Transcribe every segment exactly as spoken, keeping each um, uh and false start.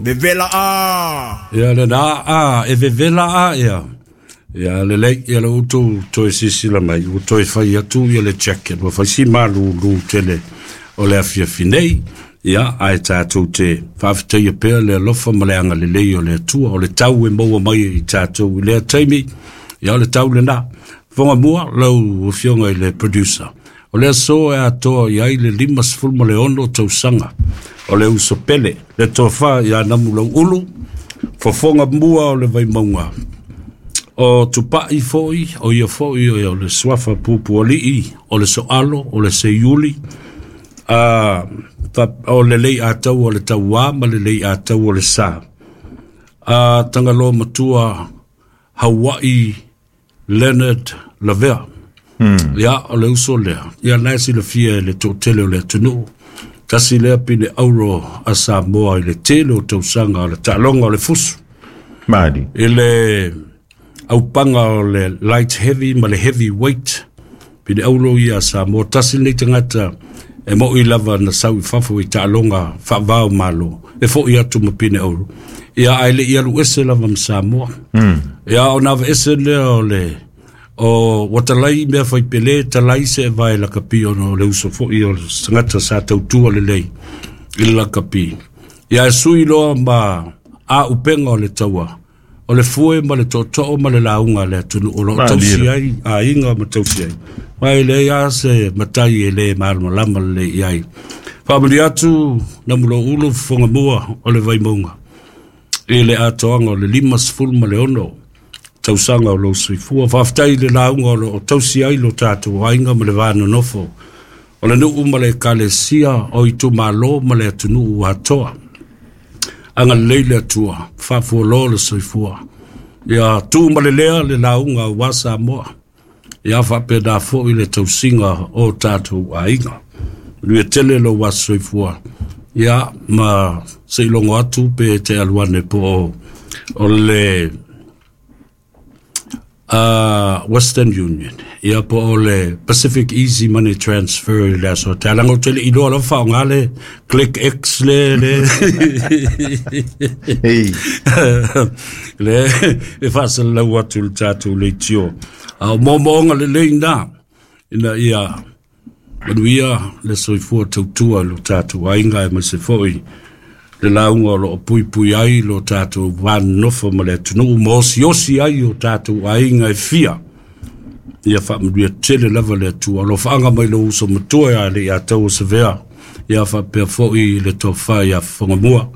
Vevela a. Ia le na a e vevela a ia. Ia le lei ia le utu toe sisila mai ua toe fai atu ia le jacket ua fai si malulu tele o le afiafi nei. Ia ae tatou te faafetaia pea le alofa ma le agalelei o le Atua o le tau e maua mai i tatou i lea taimi. Ia o le tau lena. Fofoga mua lau afioga i le producer. O le aso e atoa i ai le lima sefulu ma le ono tausaga o le uso pele, le tofa ia Namulauulu, fofoga mua o le Vaimauga. O Tupai foi, o ia foi o le suafa pupualii, o le soalo, o le seiuli, a, o le lei atau o le tauā ma le lei atau o le sa. A Tagaloa matua Hawaii Leonard Lavea. Hmm. Ia, o le uso lea. Ia nai silafia e le toatele o le atunuu. Tasi lea pine auro a Samoa i le tele o tausaga o le taaloga o le fusu. Mali. I le aupaga o le light heavy ma le heavy weight. Pine auro ia a Samoa. Tasi lenei tagata e moi lava na sau i fafo i taaloga faavao malo. E foi atu ma pine auro. Ia ae le i alu ese lava ma Samoa. Mm. Ia o nava ese lea o le o watalai mea fai pele talai se vai la kapi o no le uso foi o sangata sa tautua lelei i le lakapi. Ia e sui loa ma a upenga o le taua o le fue ma le tootoo ma le lauga le atunuu o loo tausi ai aiga ma tausi ai. Mai le ia se matai e le malamalama lelei i ai. Faamalie atu Namulauulu fofoga mua o le Vaimauga i le atoaga o le lima sefulu ma le ono tausaga o lou soifua. Faafetai i le lauga o loo tausi ai lo tatou aiga ma le va nonofo o le nuu ma le ekalesia o itumalo ma le atunuu atoa. Agalelei le Atua, faafualoa le soifua. Ia tu ma le lea le lauga aua Samoa. Ia faapena foi le tausiga o tatou aiga. Manuia tele lou aso soifua. Ia ma seilogo atu pe te alu ane po o, o le uh, Western Union. Ia po o le Pacific Easy Money Transfer i le aso. Te alanga o tele iloa lava faaaoga le Click X le le Hey. le e faasalalau atu le tatou leitio. A o moomooga lelei na ina ia manuia le soifua tautua i lo tatou aiga aemaise foi le lauga o loo puipui ai lo tatou va nonofo ma le atunuu ma osiosi ai o tatou aiga e fia. Ia faamanuia tele lava le Atua. O lo faaga mai lou uso matua ia le ia tau o Savea. Ia faapea foi le tofa ia Fofoga mua.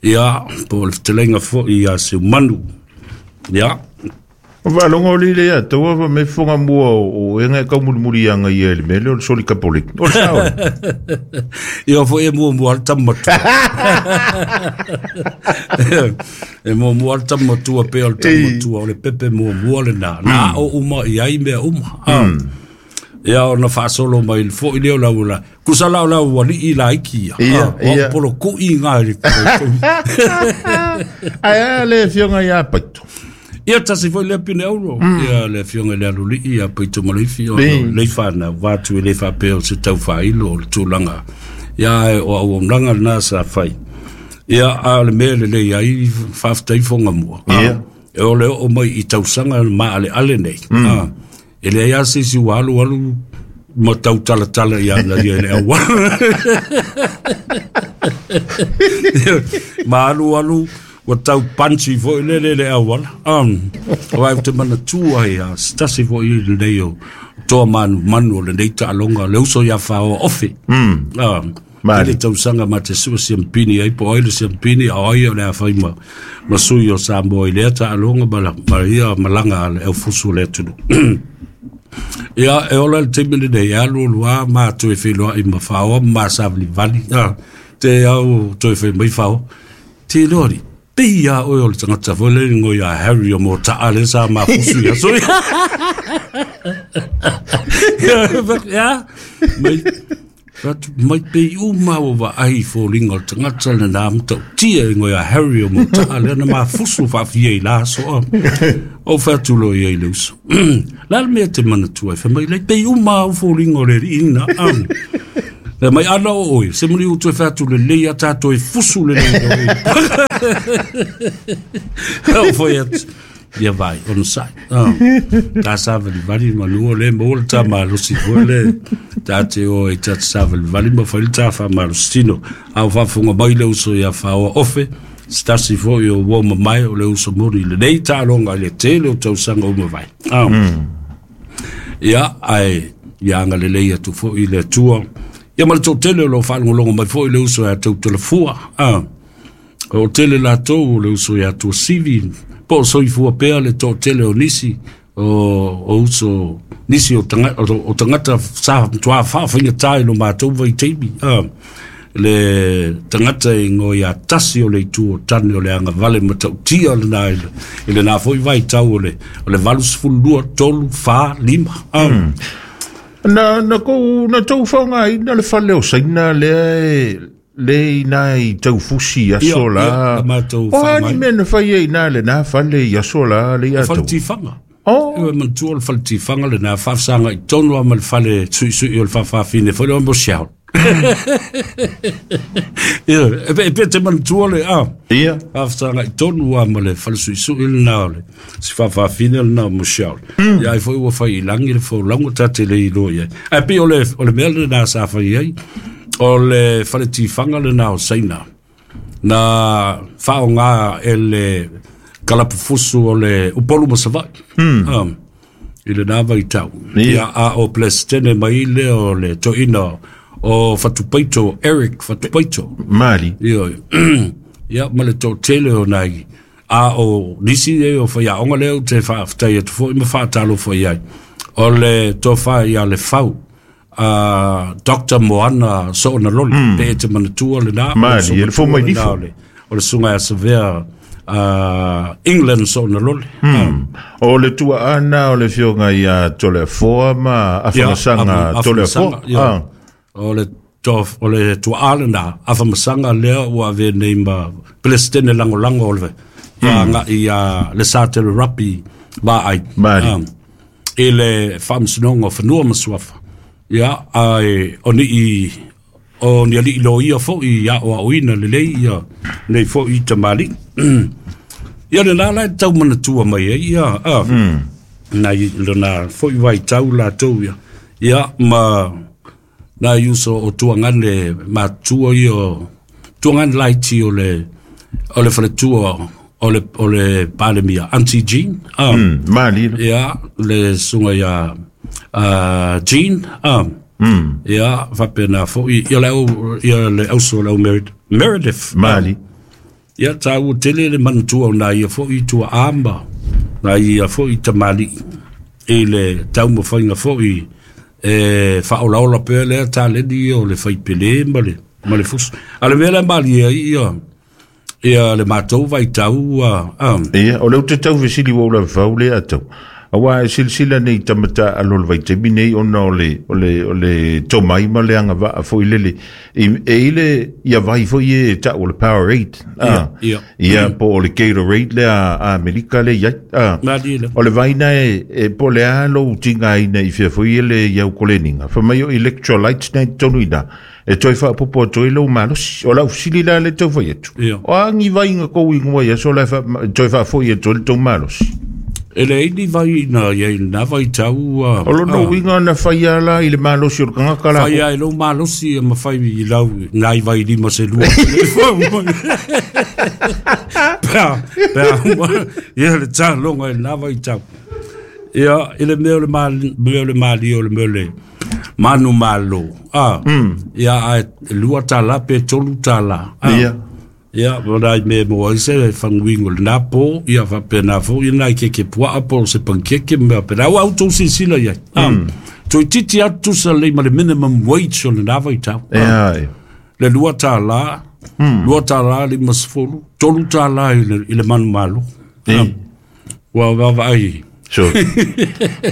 Ia po o le fetalaiga foi ia Seumanu. Ia O faalogo o lile ia taua fa me fofoga mua o e ngai kaumulimuli anga ia i le mea lea o le soli kapoleki. O le sao. Ia foi e muamua le tama matua. E muamua le tama matua pe o le tama matua o le pepe muamua lena. Na o uma i ai mea uma. Mm. Ia ona faasolo mai le foi lea o lau la. Kusa lau lau alii laiki ia. Ia, ia. O polo kui ngā i le Ai a le afioga ia Paito. Ia tasi foi le pine auro. Ia le afioga i le alulii ia Paito Maleifi o le whanau wātu e le whapea o se tau whailo o le tūlanga. Ia e o auaunaga lena sa fai. Ia a o le mea lelei ai faafetai fofoga mua. Ia. E o le oo mai i tausaga maaleale nei. E leai lava se isi ua alu alu ma tau talatala ia na ia i le auala. Ma alu alu ua tau panchi foi le le le auala. Um, o ai te manatua ia, tasi foi i lenei o toa manu manu o lenei taaloga le uso ia whaoa ofe. Mm. Um, Mali. Le tausaga ma te sua siampini ai po ai le siampini a ai o le a fai ma, ma sui o Samoa i lea taaloga ma, la, ma ia malaga a le aufusu o le atunuu. Ia e ola le taimi lenei e alu alu a ma toe wheloai ma whaoa ma savalivali. Ah, te au toe whai mai whao. Te lori. Pei ia oe o le tangata foi le ngoi a Harry o mō taa le sa mafusu ia soi. Ia, mai, mai pei uma o wa ai fōlinga o le tangata le nā mtau tia ngoi a Harry o mō taa le na mafusu whaafia i la soa. O whatulo ia i le uso. La le mea te manatua e whamai lei pei uma o fōlinga o le ina. Le mai ana o oi, se muli utu e whatu le lei a tātou e fusu le lei. O foi atu. Ia vai, ono sai. Tā sāwali vali manua le mo le tā malosi foi le. Tā te o e tā sāwali vali ma whai le tā wha malosi tino. Au whafunga mai le uso ia whaoa ofe. Stasi foi o woma mai o le uso muri le nei tā longa le tele o tausanga uma vai. Ia, ai, ia anga le lei atu foi le atua. Ia ma le tō tele o lo whaalongolongo mai foi le uso ia tau telefua. O tele lātou o le uso ia tua sivi. Po soifua pea le tō tele o nisi o, o uso nisi o tangata, o, o tangata sa tua whaawhinga tai lo mātou vai teimi. Ah, le tangata i ngoi a tasi o le itu o tane o le anga vale matautia le nā i le nā foi vai tau o le, o le valus fulua tolu wha lima. Ah. Mm. Na, na kou, na tau whaonga i na le whale o saina le le i nā i taufusi aso la. O hani mea na whai e i nā le nā whale i aso la le i ato. Whale tiwhanga. Oh. E mantua le whale tiwhanga le nā whawhasanga i tonu ama le whale sui sui o le whawhawhine whale o mo siao. Ia, e pe te mantua le a. Ia. Whawhasanga i tonu ama le whale sui sui le nā le si whawhawhine le nā mo siao. Ia ai foi ua whai i langi le whaulanga tate le i loa ia. Ai pe o le, o le mea le nā sa whai ai. O le whale tiwhanga le nā o saina. Nā whaonga e le kalapufusu o le upolu masawai. Mm. Um, i le nā vai tau. Yeah. Ia a o plestene mai le o le toina o Fatupaito, Eric Fatupaito. Mali. Ia, ia ma le tō tele o nai. A o nisi e o whai aonga leo te whaaftai atu fo i ma whaatalo fo iai. O le tō whai ia le whau. Uh, Doctor Moana Soona Loli, mm. pe e te manatua le nā. Mali, e le fō mai nifo. O le sunga a savea uh, England Soona Loli. Mm. Um. O le tua ana o le fionga ia tole foa ma awhamasanga tole foa. Ah. O le, to, o le tua ale nā, awhamasanga lea ua ave nei ma Palestine lango lango o le. Mm. Ia nga ia le sa te le rapi ma ai. Mali. Um, e le whamsinonga whanua masuafa. Ia, ai, o ni i, o ni ali ilo ia fo i ia o au ina le lei ia, nei fo i tamali. Ia le nā lai tau manatua mai e, ia, a, mm. nā i le nā fo i vai tau la tau ia. Ia, ma, nā iuso o tuangane, ma tua ia, tuangane laiti o le, o le whaletua, o le, o le palemia, Auntie Jean. Ah, mm, mali. Ia, le sunga ia, Uh, Jean, um, mm. ia, whapena fo, ia le au, ia le auso le au Meredith. Mali. Um, ia, tā ua tele le manatua o nā ia fo i tua amba, nā ia fo i tamali, i le taumawhainga fo i, e whaolaola pea lea tā leni o le whaipele ma le, ma le fusu. A le mea le mali ia, ia, ia le mātou vai tau, um. Ia, o le ute tau vesili wau la whau le atau. Awa e silsila nei tamata alo le vaitemi nei ona o le, o le, o le tomai ma le anga waa fo i lele. E, e ile ia vai fo i e ta o le Powerade. Ah, ia, ia po o le Gatorade le a, a Amerika le ia. Ah. O le vaina e, e po le alo utinga ina i fia fo i le iau koleninga. Fa mai o electrolytes nei tonu ina. E toi wha popo toi lau malosi. O lau sili la le tau fai atu. O angi vainga kou ingoa ia so la fa, toi wha fo i e toi le tau malosi. E le eini vai na ia i nā vai tau. O lono winga na whai ala i le malosi o le kangaka la. Whai a e lo malosi e mawhai i lau ngai vai lima se lua. Pea, pea, ia le tā longa i nā vai tau. Ia, i le mea o le mali, mea o le mali o le mea o le manu malo. Ah, ia, a lua tā la pe tolu tā la. Ia. Ia, wala i me mo aise e whanguingo le nā pō, ia whape nā fō, ia nā i keke puaa pō se pankeke, mea pera, au au tō sisila ia. Mm. Toi titi atu sa lei ma le minimum wage o le nā vai tau. Ea, e. Le lua tā la, mm. lua tā la li masfolu, tolu tā la i le, i le manu malo. E. Wa wawa ai. So,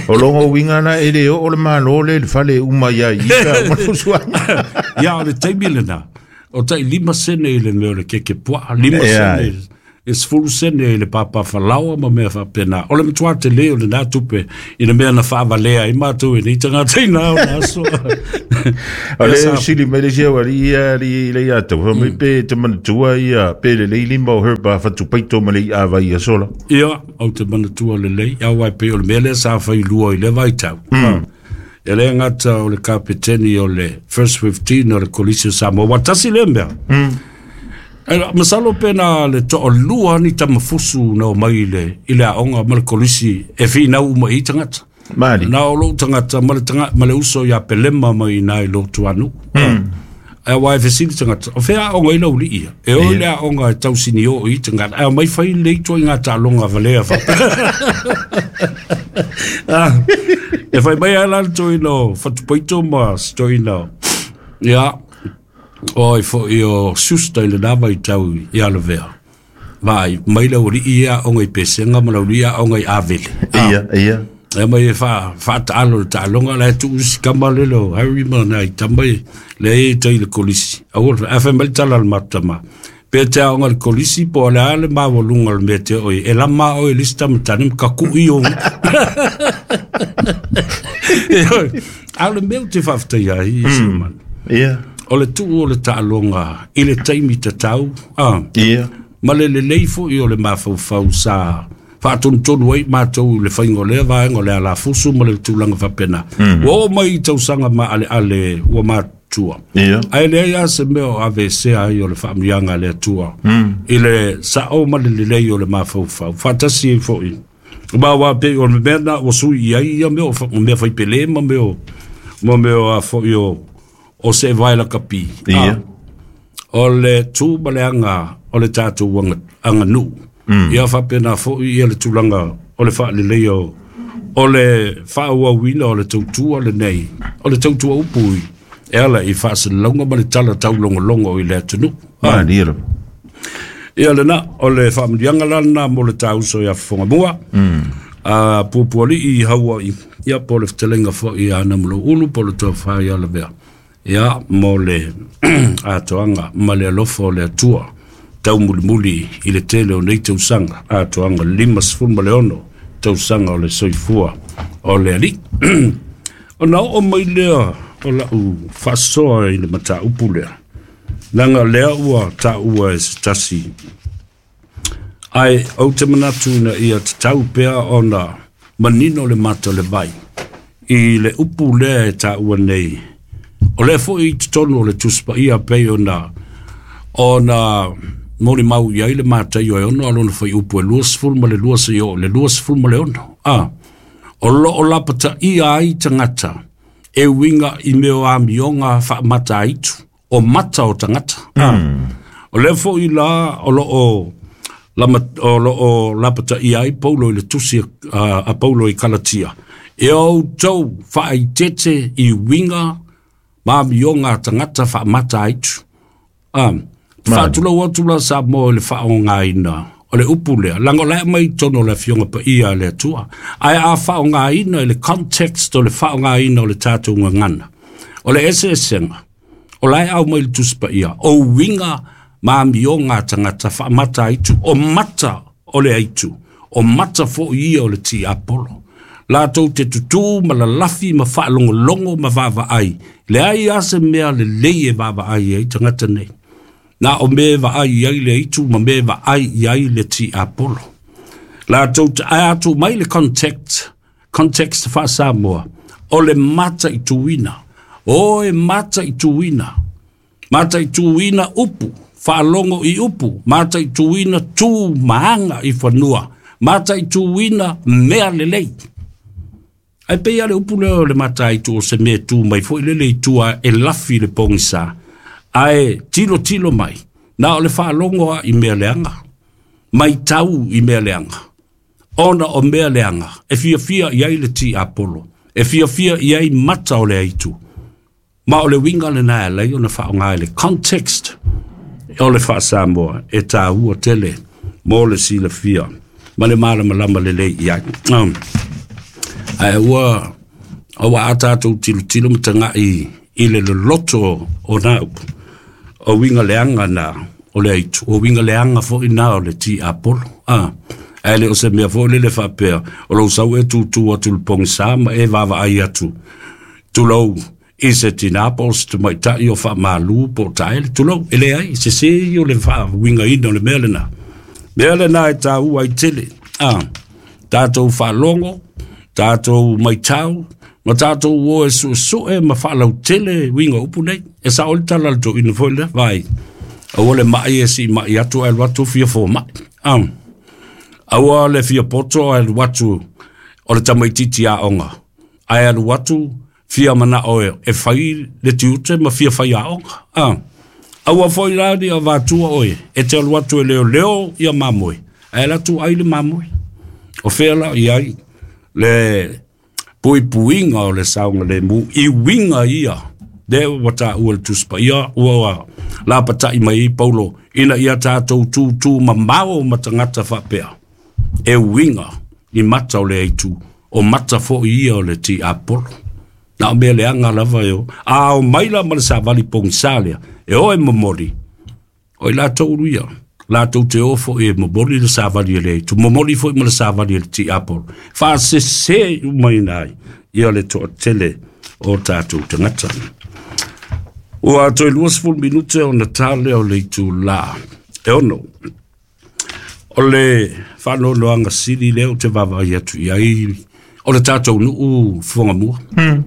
o longo winga na e le o le malo le le whale uma ia i ka mafusuanga. Ia, o le teimi le nā. O tai lima sene i le mea o le keke puaa, lima yeah. sene E sefulu sene i le papafalaoa ma mea faapena. O le matua tele o lenā tupe i le mea na faavalea ai matou e nei tagata ina o le aso. O le sili mai le sia wali ia li le ia tau mai pe te manatua ia pe le lei lima o herba fatupaito ma le ia vai ia sola. Ia, au te manatua lelei, au ai pe o le mea lea sa failua i le vaitau. E le gata o le kapeteni o le First Fifteen o le Kolisi o Samoa, ua tasi lea mea. Masalo pe na le to'alua ni tamafusu na o mai i le, i le aoga ma le kolisi e finau uma i tagata. Mali. Na o lou tagata ma le, tanga, ma le uso ia pelema mai i nai lotu anu. Mm. Ae wa e fesili tagata, o fea aoga i lau lii ia. E o le aoga e tausini o i tagata. Ae o mai fai le ito i ngā taaloga valea fa. Ah, e fai mai ala le toina o Fatupaito ma se toina. Ia, o i fo i o susta i le nava i tau i alavea. Vai, mai lau ri ia o ngai pesenga ma lau ri ia o ngai avele. Ia, ia. E mai e wha, wha taalo le taaloga la e tuu si kama le lo, Harry ma nai tamai le e tai le kolisi. Au, a whai mai tala le matama. Pe te aonga le kolisi po le ale mawalunga le mea te oi. E lama o e lista matani ka kui o. A le mea o te whawhtai ai, i se man. Ia. O le tuu o le taaloga i le taimi tatau. Ah. Ia. Ma le lelei fo'i o le mafaufau sa faatonutonu ai matou le faiga o lea vaega o le alafusu ma le tulaga faapena. Ua oo mai i tausaga maaleale ua matua. Ia. Ae leai a se mea o avesea ai o le faamuiaga a le Atua i le sa'o ma le lelei o le mafaufau. Faatasi ai fo'i. Ma ua pei o le mea na ua sui i ai ia mea o mea faipelē ma mea o ma mea o a fo'i o o se vai la kapi. Ia. O le tu ma le anga o le tatou anga, anga nuu. Mm. Ia faapena fo'i ia le tulaga o le faalelei o o le faaauauina o le tautua lenei, o le tautua upu i e ala i faasalalauga ma le tala taulogologo i le atunuu. Malie lava. Ia lena, o le faamanuiaga la lenā mo le tauso ia fofogamua. Mm. A puapuali'i i Haua'i, ia po le fetalaiga fo'i ia Namulou po le tofa ia Lavea. Ia mo le atoaga ma le alofa o le Atua taumulimuli i le tele o nei tausaga atoaga lima sefulu ma le ono tausaga o le soifua o le alii. Ona oo mai lea o lau faasoa i le mataupu lea. Laga lea ua taua e se tasi. Ae ou te manatu ina ia tatau pea ona manino le mata o le vai i le upu lea e taua nei. O lea fo'i i totonu o le Tusi Paia pei ona ona molimau i ai le Mataio e ono alona faiupu e lua sefulu ma le lua seia oo i le lua sefulu ma le ono. Ah, o loo lapataia ai tagata e uiga i mea o amioga faamata aitu o mata o tagata. Ah, o lea fo'i la o loo lama, o loo lapataia ai Paulo i le tusi a, a Paulo i Kalatia. E outou faaitete i uiga ma amioga a tagata faamata aitu. Ah, faatulou atu la sa mo le faaogaina o le upu lea. Laga o la e mai tonu o le afioga paia a le Atua. Ae a faaogaina i le context o le faaogaina o le tatou gagana. O le eseesega, o la e au mai le Tusi Paia, o uiga ma amioga a tagata faamata aitu, o mata o le aitu, o mata fo'i ia o le tiapolo. Latou te tutū ma lalafi ma faalogologo ma vaavaai. Leai a se mea lelei e vaavaai ai tagata nei. Na o me vaai i ai le aitu ma me vaai i ai le tiapolo. Latou te ae atu mai le context, context faa-Samoa, o le mataituina. O e mataituina. Mataituina upu, faalogo i upu, mataituina tu maaga i fanua, mataituina mea lelei. Ai pei ale upu lea o le mataitu o se mea tu mai fo'i lele i tua e lafi le pogisa. Ae tilo tilo mai, na o le faalogo a i mea leaga, mai tau i mea leaga. Ona o mea leaga, e fiafia i ai le tiapolo, e fiafia i ai mata o le aitu. Ma o le uiga lenā e alai ona faaoga i le context o le faa-Samoa e tāua tele mo le silafia ma le malamalama lelei i ai. Um, ae ua ua a tatou tilotilo ma taga'i i le loloto o nā upu o uiga leaga na o le aitu. O winga leanga fo ina o le ti apolo. Ah. Ae le o se mea fo le le faapea o lou sau e tūtū atu le pogisa ma e vaavaai atu tulou i se tinā po o se tamaitai o faamalū po o taele tulou e leai sesē ia o le faauigaina o le mea lenā mea lenā e tāua ai tele a tatou faalogo tatou maitau ma tatou o e suesue ma faalautele uiga o upu nei e sao le tala a le toeaina foi lea vai aua le mai e siimai atu ae alu atu fia fomai a aua le fia poto ae alu atu o le tamaititi aoga ae alu atu fia manao e, e fai le tiute ma fia fai aoga a aua foi la ni avatua oe e te alu atu e leoleo ia mamoe ae alu atu ai le mamoe o fea la i ai le puipuiga o le saogalemu i uiga ia lea ua taua le Tusi Paia ua lapatai mai ai Paulo ina ia tatou tūtū mamao ma tagata faapea e uiga i mata o le aitu o mata foi ia o le tiapolo na o mea leaga lava e o a o maila ma le savali pogisa lea e o e momoli o i latou ia latou te o foi e momoli le savali e le aitu momoli foi ma le savali e le tiapolo faasese uma ina ai ia le toatele o tatou tagata. Ua toe luasefulu minute ona tā lea o le itulā e ono. O le faanoanoaga sili lea ou te vaavaai atu i ai o le tatou nuu Fuagamua. Mm.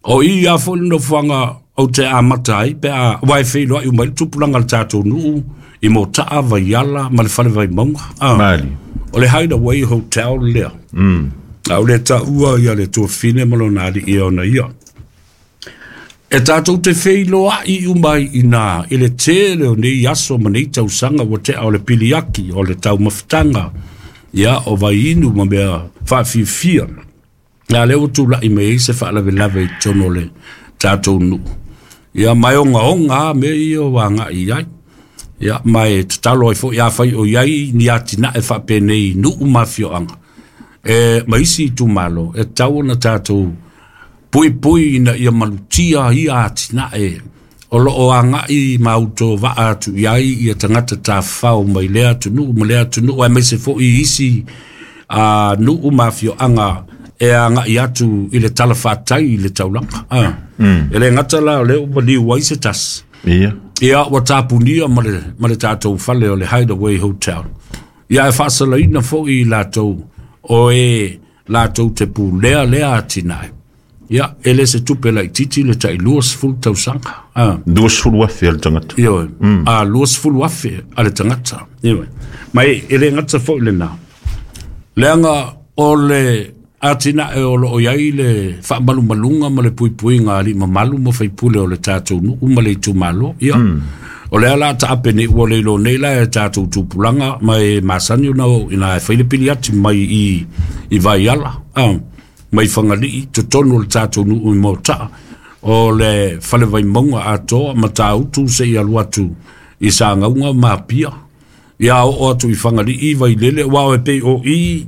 O i a foi le nofoaga ou te amata ai pe a aua e feiloai uma ai le tupulaga o le tatou nuu i Motaa, Vaiala ma le Fale Vaimauga. Ah. Mali. O le Hideaway Hotel lea. Mm. A o le taua ia le tuafine ma lona alii e ona ia. E tatou te feiloai uma ai inā i le tele o nei aso ma nei tausaga ua tea o le piliaki, o le taumafataga, ia o vaiinu ma mea faafiafia. A lea ua tulai mai ai se faalavelave i totonu o le tatou nuu. Ia ma e ogaoga a mea ia ua agai i ai. Ia ma e tatalo ai foi afai o i ai ni atinae faapenei i nuu ma afioaga e ma isi itumalo e tatau ona tatou puipui ina ia malutia ia atinae o loo agai ma autovaa atu i ai ia tagata tafafao mai lea atunuu ma lea atunuu aemaise foi isi a nuu ma afioaga e agai atu i le talafatai i le taulaga. Ah. Mm. E le gata la o lea ua liu ai se tasi. Ia. Ia ua tapunia ma le, ma le tatou fale o le Hideaway Hotel. Ia e faasalaina foi i latou o e latou te pulea lea atinae. Ia, e le se tupe laitiiti le tai luasefulu tausaga. Ah. Luasefulu afe a le tagata. Ioe. Mm. A luasefulu afe a le tagata. Ioe. Ma e, e le gata foi lenā. Leaga o le atinae o loo i ai le faamalumaluga ma le puipuiga a alii mamalu ma faipule o le tatou nuu ma le itumalo. Ia. Mm. O lea la taape nei ua le iloa nei la e tatou tupulaga ma e masani ona oo ina e fai le piliati mai i, i Vaiala. Ah. Mai Fagalii totonu o le tatou nuu i Motaa o le Fale Vaimauga atoa ma Tāutu seia alu atu i Sagauga ma Apia. Ia oo atu i Fagalii Vailele aua o e pei o i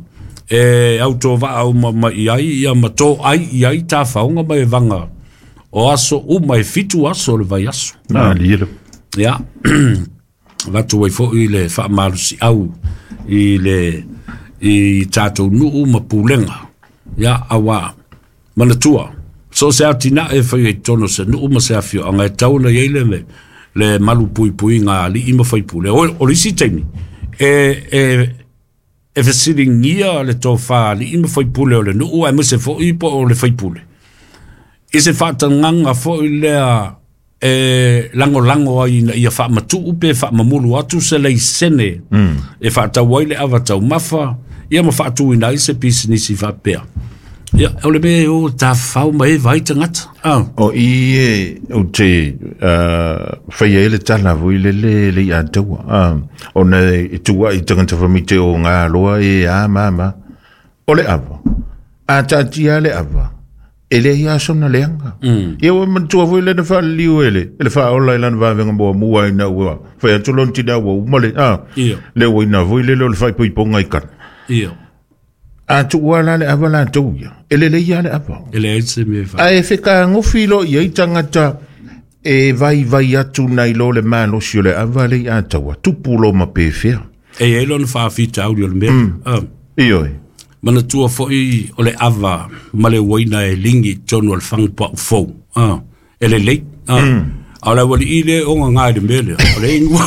e autovaa uma mai i ai ia ma toai i ai tafaoga ma e vaga o aso uma e fitu aso o le vaiaso. Malie le. Ia avatu ai foi le faamalosiau i le i tatou nuu ma pulega. Ia aua manatua so se atinae e fai ai totonu o se nuu ma se afioaga e tatau ona i ai le le malu puipuiga a alii ma faipule. O, o le isi taimi e, e, e fesiligia le tofā alii ma faipule o le nuu aemaise foi po o le faipule i se faatagaga foi lea e lagolago ai ina ia faamatuu pe faamamulu atu se laisene Mm. e faatau ai le ava taumafa ia ma faatuina ai se pisinisi faapea. Ia o le mea e o tafafao ma e vaai tagata. Ah. O i e o te uh, whaia e le tala vui le le le i ataua. Uh, ona e tua i tagata whamite o ngā loa e a mama. O le awa. A tātia le awa. E le ia sona leanga. Mm. Ia ua matua vui le na whaliliu e le. E le whaola i lana wawenga mua mua i na ua. Whai atu lon tina ua umale. Ah, Ia. le ua ina vui le le o le whaipoiponga i kana. Ia. A tuua la le awa la tau ia. E le le ia le awa. E leai se mea e fai. A e wheka ngofi lo ia i tangata e vai vai atu nai lo le malosi o le ava le i ataua, tupu lo ma pefea. E e lona whaafita au o le mea. Mm. Um, Ioi. Manatua foi o le ava ma le uaina e lingi tonu o le whangpa ufou. Uh, e le lei. Uh. Mm. A o le wali i le onga ngai le mea lea. O le ingua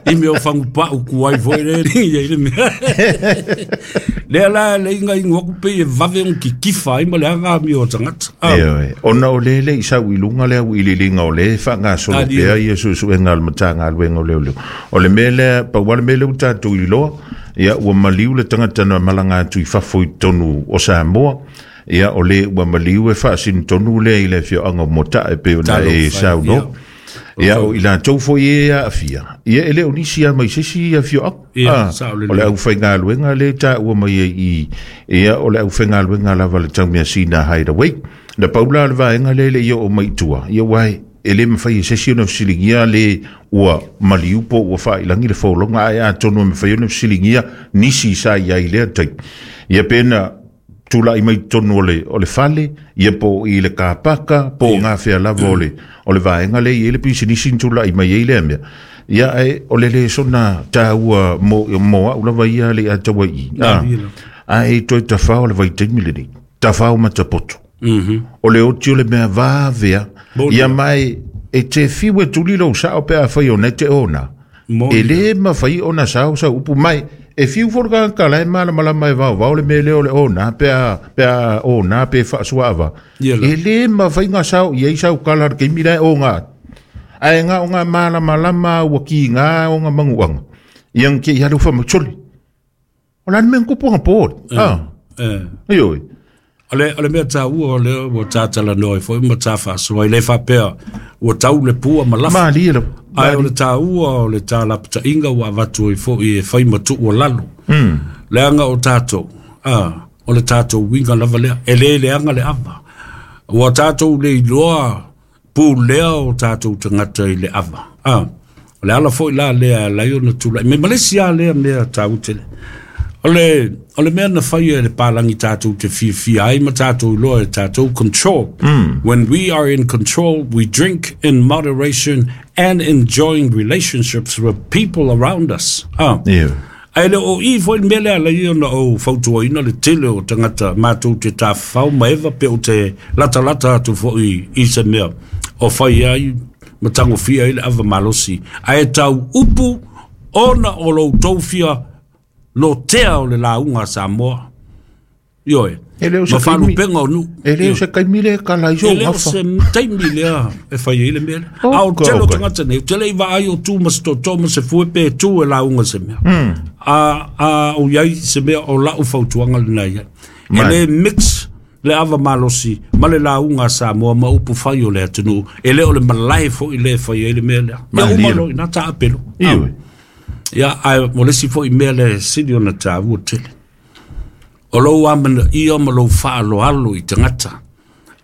i mea o whangpa ukuai foi le lingi i le mea. Lea la le inga ingua kupe e vave on ki kifa ai ma le anga mi o tangata. Ah. Ioi. Ona o le le isa uilunga lea uililinga o le whanga solo pea ia susu enga al matanga alwenga o leo leo. O le mea lea, pa wale mea leo tātou i loa, ia ua maliu le tangata na malanga atu i fafo i tonu o Samoa. Ia o le ua maliu e whaasin tonu le i le fio anga mota e pe ona e sau no. Ia o ila tau foi e a afia. Ia ele o nisi a mai sesi a fio anga. Ia, o le au whainga luenga le ta ua mai e i. Ia o le au whainga luenga lava le tau mea sina hideaway. Na paula le vaenga le le ia o mai tua. Ia wai ele mawhai e sesi ona fisilingia le ua maliupo ua whailangi le whaolonga ai a tonu mawhai ona fisilingia nisi sa ia i lea tai. Ia pena tula i mai tonu o le, o le fale, ia po i le kapaka, po yeah. Ngā whea lava o le, o le vaenga le i ele pisi nisi tula i mai e lea mea. Ia e o le le sona tā ua mo, mo au lava ia le atawa i. Ah, a e toi tawhao le vaitaimi le nei, tawhao matapoto. Mm-hmm. O le oti o le mea vāvea, ia mai e te fiwe tuli lo sao pe a whai o nei te ona. E le ma whai ona sao sao upu mai, e fiu foro ka lai mala mala mai vau vau le mele o le ona pe a pe a ona pe whaasuava. E le ma whai ngā sao i ei sao kala ke mira o ngā. Ai ngā o ngā mala malama ua ki ngā o ngā manguanga. Ia ke i halu wha macholi. O lan me nkupu ngā pōri. Ah. Ioi. O le, o le mea tā ua o le ua tātala noa i foi ma tā whaasua i le whapea ua tau le pua ma lafa. Maali e Ai o le tā ua o le tā lapita inga ua avatu i foi e whai matu ua lalo. Mm. Le anga o tātou, ah, o le tātou winga lava lea, e le le anga le ava. Ua tātou le iloa pū lea o tātou tangata i le ava. Ah, o le ala foi la lea lai o na tūlai. Me malesi a lea mea tā utele. O le, o le mea na whai e le pālangi tātou te whiawhia ai ma tātou loa e tātou control. Mm. When we are in control, we drink in moderation and enjoying relationships with people around us. Ah. Yeah. Ai le o i foi mele ala i ona o fautua ina le tele o tangata mātou te tāwhau ma ewa pe o te lata lata atu foi i se mea. O whai ai matango fia i le ava malosi. Ai tau upu ona o lou tau fia lo tea o le launga Samoa. Ioe. E leo se Ma whalupenga o nu. E leo se kaimile ka laiso E leo ngafa. se taimi lea e whai e le mele. Oh, A o telo okay. tangata nei. Tele i vaai o tū ma se toto ma se fue pe tū e launga se mea. Mm. A, a o iai se mea o lau fautuanga le nei. E le mix le ava malosi ma le launga Samoa ma upu whai o le atunu. E leo le malae fo i le whai e le mea lea. Ia uma lo ina tā apelo. Ioi. Ia, ai, mo lesi fo i mea le sili ona tā ua tele. O lou amana ia ma lou whaaloalo i tangata.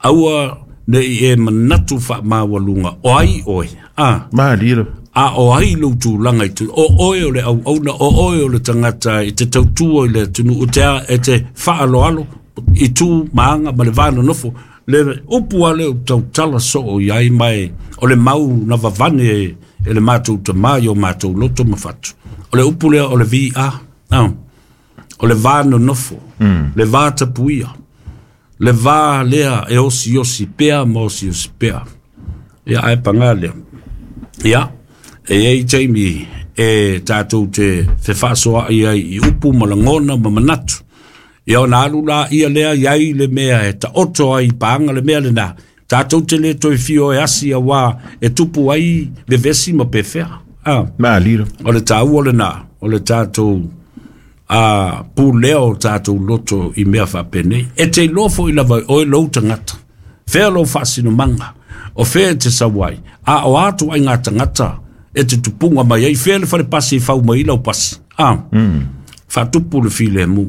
Aua ne i e manatu wha maawalunga. O ai oe. Ah. Maali. A o ai lou tūlanga i tū. O oe o le au auna, o oe o le tangata i te tautua i le tunu. O te a e te whaaloalo i tū maanga ma le vāna nofo. Le upu ale o tautala so o iai mai. O le mau na vavane e, e le mātou te mai o mātou loto ma whatu. O le upu lea o le V A. Ah. O le vāna nofo. Mm. Le vā tapuia. Le vā lea e osi osi pea ma osi osi pea. Ia ai pangā lea. Ia, e ei taimi e tātou te whewhaasoa i ai i upu ma langona ma manatu. Ia ona alu la ia lea iai le mea e ta oto ai pānga le mea le nā. Tātou te le toi whio e asi a wā e tupu ai le vesi ma pewhea. Ah. Maali. O le tāua le nā, o le tātou a pūlea o tātou loto i mea whapenei. E te lofo i lava oe lou tangata. Whea lou whaasino manga. O whea te sawai. A o atu ai ngā tangata e te tupunga mai ai. Whea le whare pasi i whau mai lau pasi. Ah. Mm. Whatupu le file mu.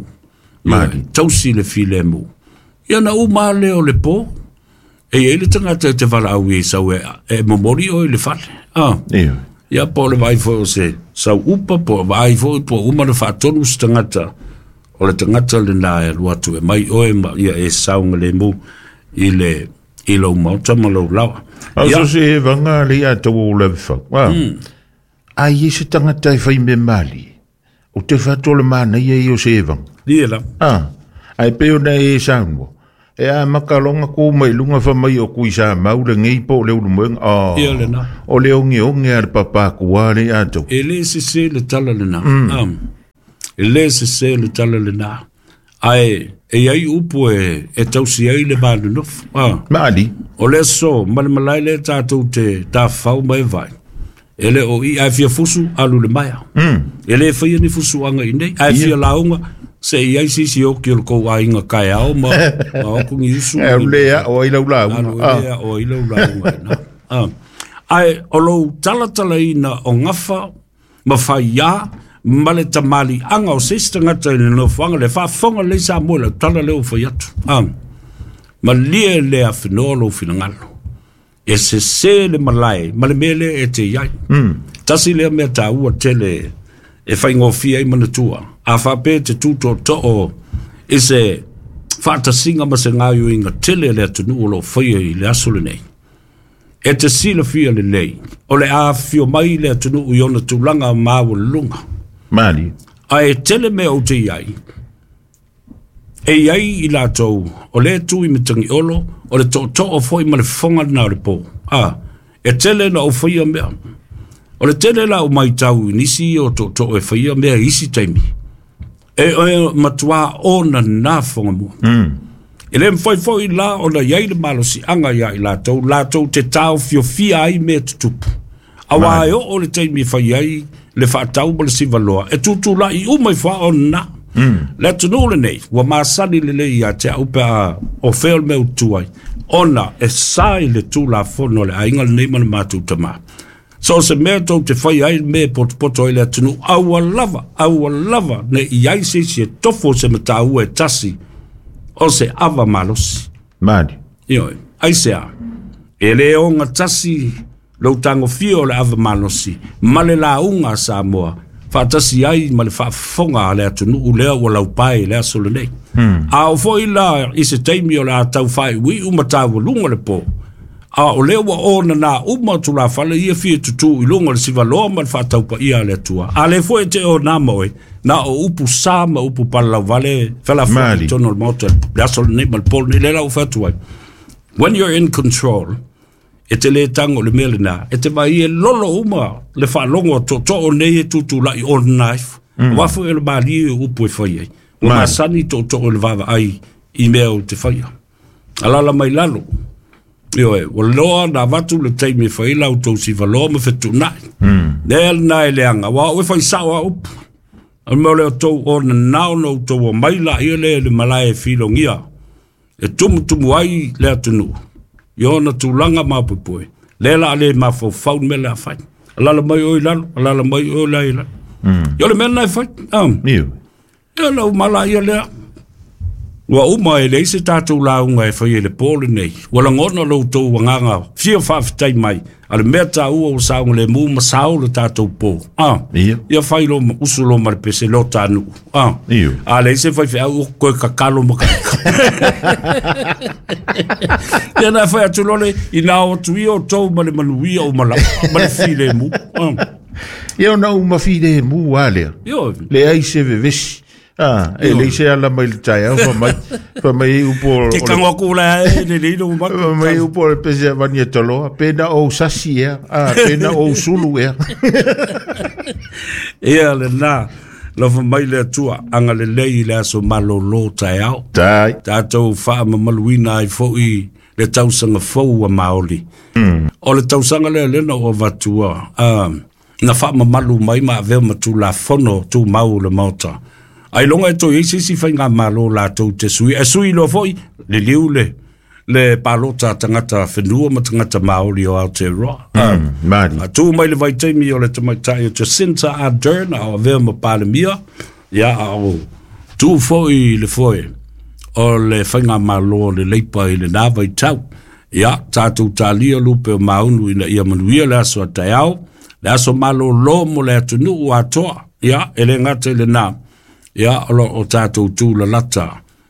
Maali. Tausi le file mu. Ia na uma leo le pō. E ei le tangata e te wala au i sau e, e momori o i le whale. Ah. Iyo. Ia po le vai foi o se sau upa, po vai foi po uma le whaatonu se tangata. O le tangata le nā e luatu e mai oe ma ia e saunga le mu i le, I lau maota ma lau lawa. Au so se vanga le ia tau o le fau. Ai e se tangata e whai me mali. O te whato le mana ia i o se evanga. Ia la. Ah, ai peo na e saungo. E a makalonga ko mai lunga fa mai o kui sa mau le ngei po le ulu moenga. Oh, ia le na. O le onge onge a le papaku a le ato. E le se se le tala le na. Mm. Um, e le se se le tala le na. Ai, e ai upu e, e tausi ai le malunofu. Ah. Maali. O le so, male malai le tātou te tāwhau mai vai. E le o i ai fia fusu alu le maia. Mm. E le whaia ni fusu anga i nei. Ai fia launga. Se i ai sisi o ki o kou ainga kai ao ma, ma oku ngi usu. E lea o ai lau launga. Alu lea o ai lau launga. Ah. Ai o lou talatala ina o ngafa ma whaia ma le tamali anga o seisi tagata i le nofoaga le faafofoga lelei Samoa i lau tala lea ua fai atu. Ah. Malie le afenoa lou finagalo. E sesē le malae ma le mea lea e te iai. Mm. Tasi lea mea tāua tele e faigofia ai manatua. A faapea te tūtootoo i se faatasiga ma se gaioiga tele le atunuu o loo faia i le aso lenei. E te silafia lelei o le afifio mai le atunuu i ona tulaga maualuluga. Mali. Ae tele mea ou te iai. E iai i latou o le tu i matangiolo o le tootoo foi ma le fofoga lena o le pō. Ah, e tele na ou faia mea. O le tele la o maitau i nisi o tootoo e faia mea i isi taimi. E e matua ona nā fonga mua. Mm. E le mwhai foi la o na iai le malosianga ia i latou, latou te tau fiofia ai mea tutupu. Awa e o le taimi whai ai le whaatau ma le sivaloa. E tūtū i umai wha o nā. Mm. Le atunuu lenei, ua masani lelei ia te au pe a o fea o le mea utu ai. Ona e sa i le tūlafono le aiga lenei ma le mātou tamā. So se mea tou te whai ai me potopoto ai le atunuu, aua lava, aua lava, ne i ai se isi e tofo se mataua e tasi, o se ava malosi. Mali. Ioi, ai se a, e le onga tasi lou tagofia o le ava malosi, ma le lauga a Samoa, faatasi ai ma le faafofoga a le atunuu lea ua laupae i le aso lenei. Mm. A o foi la i se taimi o le a tau faaiuiu ma taualuga le pō. A o lea ua ona nā uma tulafale ia fia tutū i luga o le sivaloa ma le faataupaia a le Atua. A le foi te o nā ma oe, na o upu sa ma upu palalauvale, felafo'i i totonu o le maota le aso lenei ma le pō lenei, lea la ua fai atu ai. When you're in control, e te le tango le mea lenā, e te vai e lolo uma le faalogo a tootoo nei e tutulai o knife. Mm. Wa foi e le malie upu e fai ai. Ua masani tootoo le vaavaai i mea o te faia. Alala mai lalo. Ioe, ua loa na avatu le taimi e fai lau tou sivaloa ma fetuunai. Mm. Lea lena e leaga, ua au e fai sao a upu. O le mea o lea o tou o nanao na outou o mai laia lea i le malae e filogia. E tumutumu ai le atunuu. I ona tulaga mapoepoe. Lea la a le mafaufau le mea le a fai. Alala mai o i lalo, alala mai o la i lalo. Mm. Ia o le mea lena e fai. Um. Iu. Ia lau malaia lea. Ua uma e leai se tātou lauga e fai e le pō lenei. Ua lagona lou tou agaga fia faafetai mai. A le mea tāua ua saogalemu ma sao le tātou pō. Ah. Ia. Ia fai lo ma usu lo ma le pese lo tānuu. Ah. Iu. A leai se faifeau o koe kakalo ma kaika. Ia na fai atu lole i nā o atu ia o tou ma le manuia o malau. Ma le filemu. Ah. Ia ona uma filemu a lea. Io. Le ai se vevesi. Ah, e le se ala mai le taeao fa mai fa mai upo Te kango aku la e le le lo ma. Fa mai upo le pese vania toloa pena o sasi ea, ah pena o sulu ea. Ia le na lofa mai le Atua anga lelei i le aso malōlō taeao. Tai. Tātou faamamaluina ai fo'i le tausaga fou a Maoli. Mm. O le tausaga lea lena ua avatua, ah, na faamamalu mai ma avea ma tulafono tumau le maota. Ai longa e toi ei sisi whainga malo latou te sui. E sui loa foi, le liu le, le palota tangata whenua ma tangata Māori o Aotearoa. Mm, Māori. A tū mai le vaitaimi o le tamaitai o Jacinta Ardern a o avea ma Palemia. Ia a o tū foi le foe o le whainga malo le leipa i le nā vaitau. Ia, tātou tālia lupe o maunu ina ia manuia le aso a taeao. Le aso malo lo mo le atunuu atoa. Ia, e le ngata i le nā. Ia, o lo o tātou tū lalata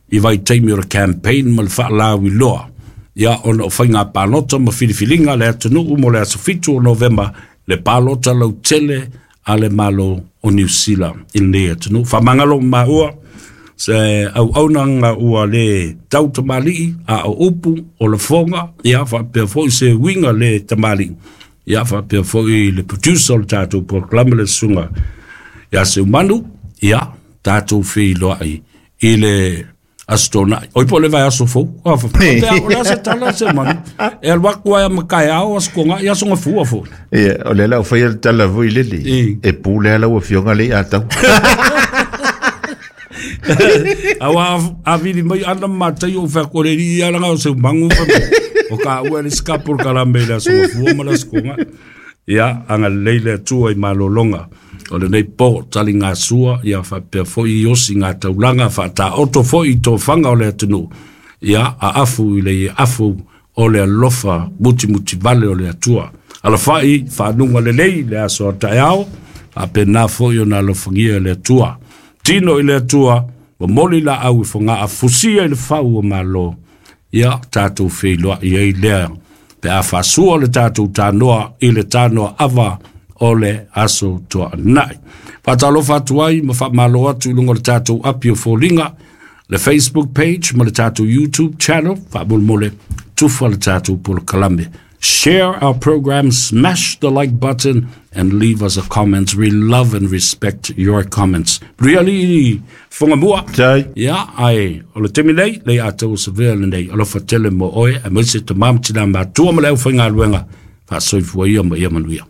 i vaitaimi o le campaign ma le whaalawi loa. Ia ona o faiga palota ma filifiliga le atunuu mo le aso fitu o Novema le palota lautele a le Malo o Niu Sila i lenei atunuu. Faamagalo maua se auaunaga ua le tau tamalii a o upu o lafoga ia faapea foi se uiga le tamalii ia faapea foi le producer o le tatou polokalame le susuga ia Seumanu ia tatou feiloai i le aso Toonai. Oi po o le vaiaso fou. Faapea o le a se tala Seumanu. E alu atu ai a makaeao aso Toonai aso Gafua foi. Ia, o lea la o faia le tala foi lele. E pule lau afioga le i atau. Aua avili mai ana matai o whako le ri alanga o Seumangu o ka ua le skapo kalame le aso Gafua ma le aso Toonai. Ia, anga lei le Atua i malolonga. O lenei po tali ngā sua, ia faapea foi i osi ngā taulaga, faataoto foi i tofanga o le atunuu. Ia, a afu i le afu o le alofa mutimuti vale o le Atua. Alafai, whaanunga lelei le aso a taeao, a pena foi o nā alofangia le Atua. Tino i le Atua, wa moli la au i whanga a fusia i le whau o malo. Ia, tātou wheiloa i ei lea. Pe a whasua le tātou tānoa i le tānoa ava o le aso Toonai. Whātalofa atu ai, ma whaamalo atu i lunga le tātou api o fōlinga, le Facebook page ma le tātou YouTube channel, whaamulmole, tufa le tātou polokalame. Share our program, smash the like button, and leave us a comment. We love and respect your comments. Really, whanga mua. Ia, ai, o le temi nei, lei ātau o sa vea le nei, alofa tele mo oe, a maise te mamtina mātua ma le au whainga luenga, whaasoifua ia ma ia manuia.